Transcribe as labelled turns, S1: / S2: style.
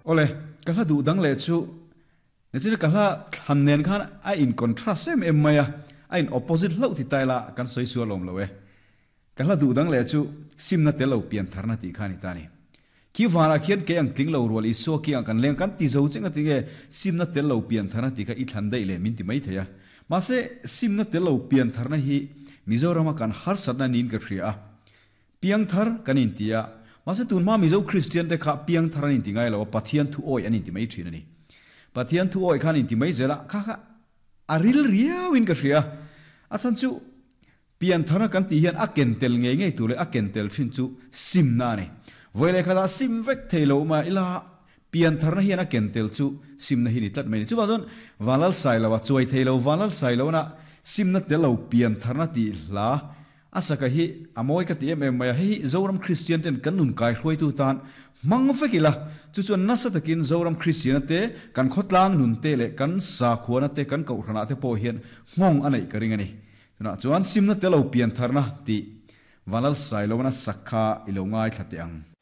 S1: Awle, ka hla duh dang leh chu Nichina ka hla thlan nen khan a in contrast em em mai a, a in opposite hlauh ti ta ila kan sawi sual awm lo e. Ka hla duh dang leh chu simna tel lo pian tharna tih kha a ni ta a ni. Khi vanah khian kei ang tling lo rual Isua kiangah kan leng kan ti zo cheng a ti nge simna tel lo pian tharna tih kha i thlan daih leh min ti mai thei a. Mahse simna tel lo pian tharna hi Mizorama kan harsatna niin ka hria a. Piangthar kan inti a, mahse tun hma Mizo Kristian te kha piangthar an inti ngai lo a, Pathian thu awih an inti mai thin a ni. Pathian thu awih khan inti mai zel a, kha kha a ril riau in ka hria. A chhan chu pianthar a kan tih hian a ken tel ngei ngei tur leh a ken tel thin chu simna a ni. Vawi leh khatah sim vek thei lo mah ila piantharna hian a ken tel chu simna hi ni tlat mai a ni. Chuvang chuan Vanlal Sailoa chuai thei lo Vanlal Sailoana simna tel lo piantharna tih hla A saka hi a mawi ka ti em em mai a, hei hi Zoram Kristian ten kan nun kai hruaitu tan hmang vek ila, chu chuan nasa takin Zoram Kristiana te, kan khawtlang nun te leh kan sakhuana te, kan kohhranah te pawh hian nghawng a neih ka ring a ni. Tunah chuan simna te lo pian tharna tih Vanlal Sailoana sak kha i lo ngaithla teh ang.